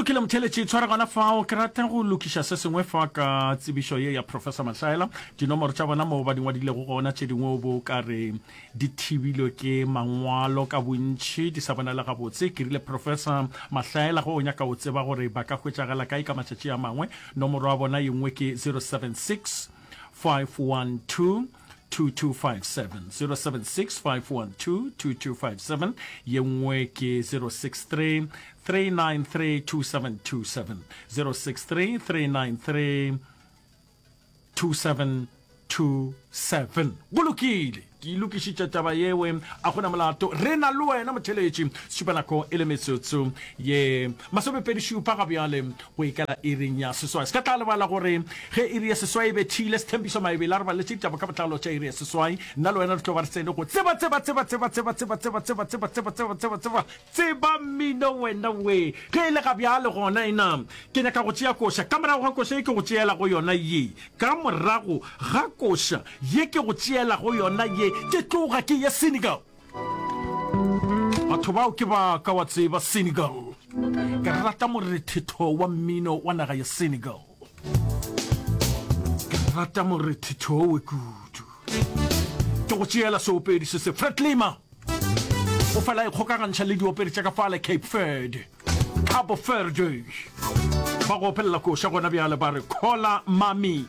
lokile motheletši, tshwara gona fao. Ke rata go lokiša se sengwe fa ka tsebišo ye ya Professor Mahlaela. Dinomoro tša bona moo ba di ngwadilego gona, tše dingwe o bo ka re di thibilwe ke mangwalo ka bontši, di sa bonale gabotse. Ke rile, Professor Mahlaela, ge o nyaka o tseba gore ba ka hwetšagala kae ka matšatši a mangwe, nomoro ya bona ye nngwe ke 076 512 2257, 076 512 2257, ye nngwe ke 063 393 2727, 063 393 2727. Go lokile, ke e lokišitše taba yewe, a gona molato. Re na le wena motheletši. Šupanako e le metsotso ye masomepedišupa ga bjale go ikela iring ya seswai. Se ka tla lebala gore ge iri ya seswai e bethile, Sethembišo Maebele a re baleletše ditaba ka botlalo tša iri ya seswai. Nna le wena re tlo ba re tsene go tseba, tseba, tseba, tseba, tseba, tseba, tseba, tseba, tseba, tseba, tseba, tseba, tseba, tseba mmino wena we. Ge e le ga bjale gona ena, ke nyaka go tšea koša. Ka morago ga koša ye ke go tšeelago yona ye, ka morago ga koša ye ke go tšeelago yona ye, ke tloga ke ye Senegal. Batho bao ke ba ka wa tseba Senegal. Ke rata morethetho wa mmino wa naga ya Senegal. Ke rata morethetho we kudu. Ke go tšeela seopedi se se Fred Lima. O fela e kgokagantšha le diopedi tša ka fale Cape Verde. Cabo Verde. Ba go opelela koša gona bjale ba re Kola Mami.